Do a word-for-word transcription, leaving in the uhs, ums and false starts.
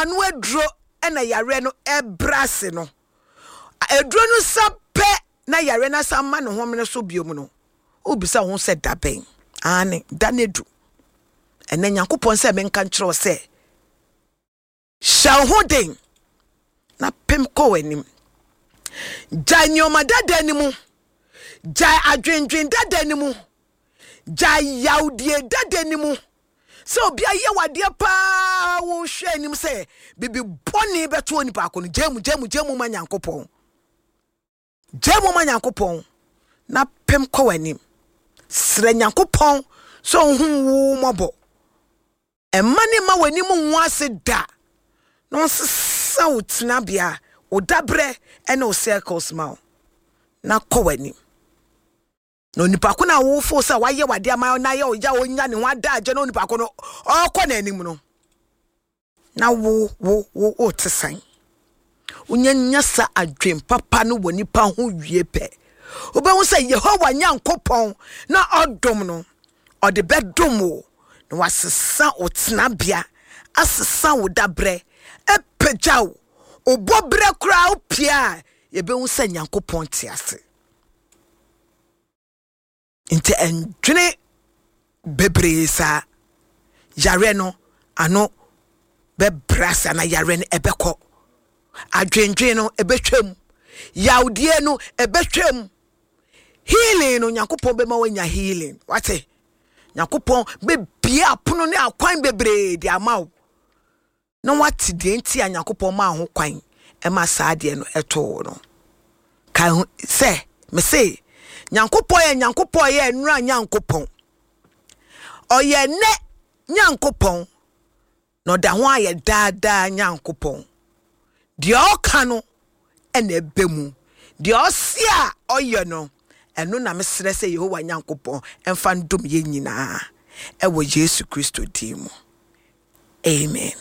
ano aduro ɛna yareɛ no ɛbrɛ ase no. Aduro no sa pɛ na yareɛ no asa ma ne homene so biom no, wobisa wo ho sɛ da bɛn? Aane, da no adu. Ɛnɛ Nyankopɔn sɛ menka nkyerɛ wo sɛ hyɛ wo ho den na pem kɔ w'anim. Gyae nneɛma dada no mu, gyae adwendwen dada no mu, gyae yawdie dada no mu. Sɛ obi ayɛ wadeɛ paa, wohwɛ anim sɛ bibi bɔne bɛto onipa ko no, gyae mu, gyae mu, gyae mu ma Nyankopɔn. Gyae mu ma Nyankopɔn na pem kɔ w'anim. Srɛ Nyankopɔn sɛ ɔnhu wo mmɔbɔ. Ɛmma ne mma w'anim nwo ase da na ɔnsesa wo tenabea, wo dabrɛ ne wo circles ma wo na kɔ w'anim. Na onipa ko no a wofo sɛ wayɛ wade ama na ayɛ ɔya ɔnya ne ho adagye na onipa ko no ɔrekɔ n'anim no, na wo wo wo wote sɛn? Wonyanya sa adwen papa no wɔ nipa ho wie pɛ, wobɛhu sɛ Yehowa Nyankopɔn na ɔdom no, ɔde bɛdom wo na wasesa wo tenabea, asesa wo dabrɛ, apagya wo wobɔ berɛ koraa wopie a, yɛbɛhu sɛ Nyankopɔn te ase. Nti ɛndwene bebree saa. Yareɛ no ano bɛbrɛ ase anaa yareɛ no ɛbɛkɔ. Adwendwen no ɛbɛtwam. Yawdeɛ no ɛbɛtwam. Healing no, Nyankopɔn bɛma woanya healing. Wate? Nyankopɔn bɛbie apono ne akwan bebree de ama wo na wate deɛ nti a Nyankopɔn maa ho kwan ɛma saa adeɛ no ɛtoo no. Ka ho sɛ mese Nyankopɔn yɛ Nyankopɔn, yɛ nnura Nyankopɔn, ɔyɛ nnɛ Nyankopɔn, na ɔda ho ayɛ daadaa Nyankopɔn. Deɛ ɔka no ɛna ɛbɛ mu, deɛ ɔse a ɔyɛ no, ɛno na mesrɛ sɛ Yehowa Nyankopɔn ɛmfa ndom yɛn nyinaa ɛwɔ Yesu Kristo din mu. Amen.